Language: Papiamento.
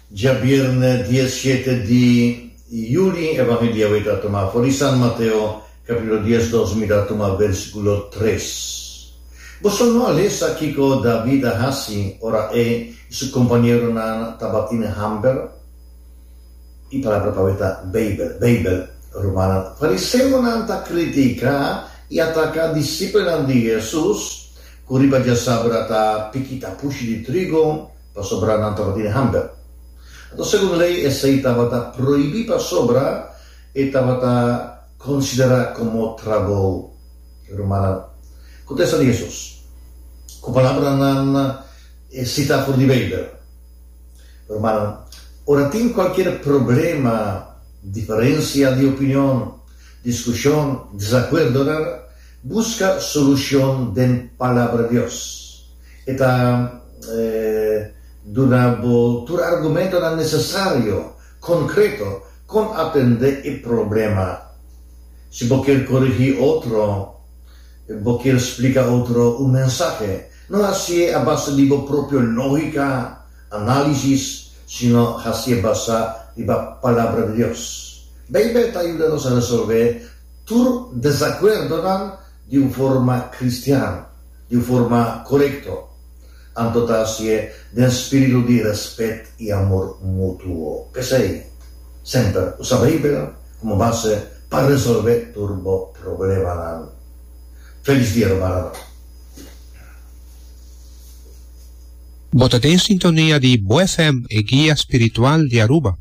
Djabierne diesshete di yuli, Evangelio awe ta tuma for di San Mateo, capítulo diesdos, mi ta tuma versículo tres. Boso no a lesa kiko David a hasi ora e i su kompañeronan tabatin hamber? E palabra pa awe ta Beibel, Beibel. Rumannan, fariseonan ta kritiká i ataká disipelnan di Hesus ku riba djasabra ta piki tapushi di trigo, pasobra nan tabatin hamber. Anto segun lei esei tabata prohibí pasobra e tabata konsiderá komo trabou. Rumannan, kontesta di Hesus ku palabranan sitá for di Beibel. Rumannan, ora tin kualkier problema, diferensia di opinion, diskushon, desakuerdonan, buska solushon den Palabra Dios. E ta duna bo tur argumentonan nesesario, konkreto, kon atendé e problema. Si bo kier korigí otro, bo kier splika otro un mensahe, no hasié a base di bo propio lógika, análisis, sino hasié basá riba Palabra di Dios. Beibel ta yuda nos resolvé tur desakuerdonan di un forma kristian. Di un forma korekto, anto ta hasié den spiritu di rèspèt i amor mutuo. P'esei, semper usa Beibel komo base pa resolvé tur bo problemanan. Felis dia, rumannan! Bo ta den sintonia di Bo FM, e guia spiritual di Aruba.